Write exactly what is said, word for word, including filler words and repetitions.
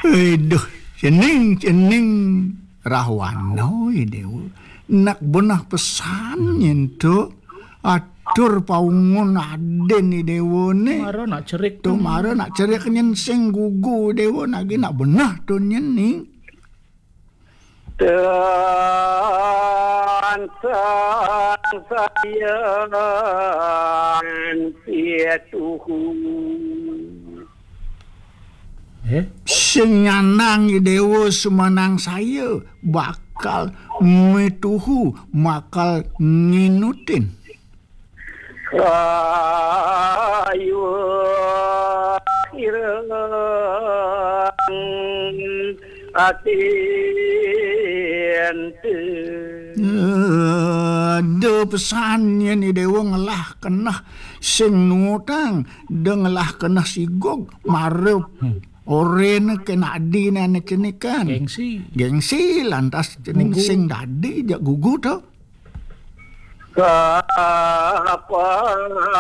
Aduh, cening, cening Rahwana, Déwa. Nak benah pesan nyén to. Atur paungun adén Déwa né. Mara nak cerik to, mara nak cerik nyén sing gugu Déwa, nak nak benah to nyén ning. Tansah sayang pituhu. Eh? Sing nyanang Déwa sumanang saya bakal mituhu, bakal nginutin. Kayu ireng atin. Ada pesan nyén Déwa ngelah keneh sing nuutang, da ngelah keneh sigog, mara orén ké nak dadi né cenikan. Gengsi. Gengsi lantas cening sing dadi jak gugu to. Kapan